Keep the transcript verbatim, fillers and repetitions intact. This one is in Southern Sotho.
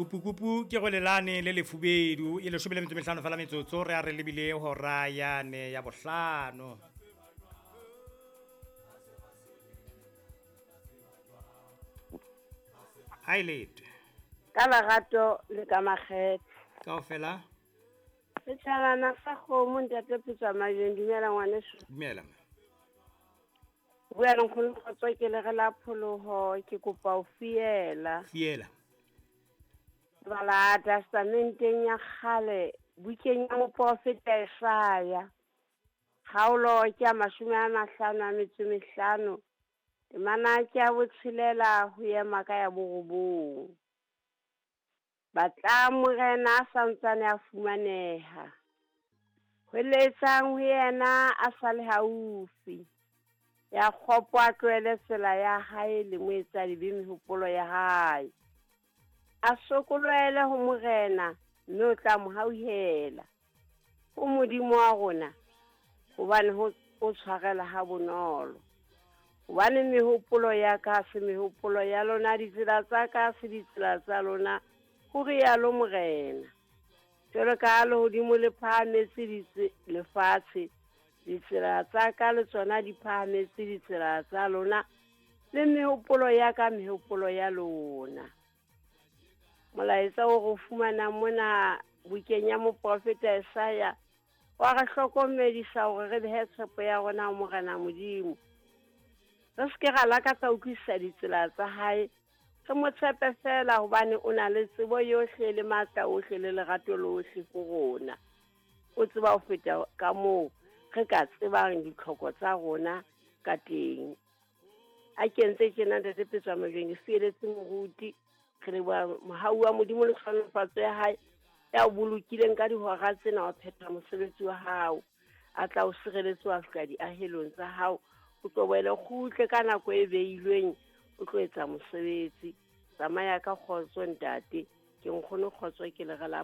Kupukupu ke go lelane le lefubedu e lesome le metso mehlano fela metsotso re a re lebile hora yane ya bohlano. Ha e lete. Ka lerato le ka makgethe. Kaofela. Setjhabana sa kgomo ntate Phetswa Majeng, dumela ngwaneso. Dumela. Bua le nkgono Kgotso ke le re la pholoho ke kopa ho fiela. Fiela. Bala testamenteng ya kgale bukeng ya moprofeta Isaiah. Kgaolo ke ya mashome a mahlano a metso e mehlano. Temana ke ya botshelela ho ema ka ya borobong. Batla morena a santsane a fumaneha. Hweletsang ho yena a sa le haufi. Ya kgopo a tlohele tsela ya hae le moetsadibe mehopolo ya hae. A sokolohele ho morena mme o tla mo hauhela. Ho Modimo wa rona hobane ho o tshwarela ha bonolo. Hobane mehopolo ya ka se mehopolo ya lona, ditsela tsa ka se ditsela tsa lona, ho rialo morena. Jwalo ka ha lehodimo le phahametse lefatshe, ditsela tsa ka le tsona di phahametse ditsela tsa lona, le mehopolo ya ka mehopolo ya lona. Molaetsa o re fumanang mona bukeng ya moprofeta Isaiah wa re hlokomedisa hore re behe tshepo ya rona ho Morena Modimo. Re se ke ra lakatsa utlwisisa ditsela tsa hae, re mo tshepe fela hobane o na le tsebo yohle le matla ohle le lerato lohle ho rona. O tseba ho feta ka moo re ka tsebang ditlhoko tsa rona ka teng. A kentse tjena ntate Phetswa Majeng, ke fieletse moruti, re leboha mohau wa Modimo le tlhonolofatso ya hae ya o bolokileng ka dihora tsena wa phetha mosebetsi wa hao. A tla o sireletse wa fihla diahelong tsa hao, o tlo boele kgutle ka nako e beilweng, o tlo etsa mosebetsi. Tsamaya ka kgotso ntate, ke nkgono Kgotso ke le re la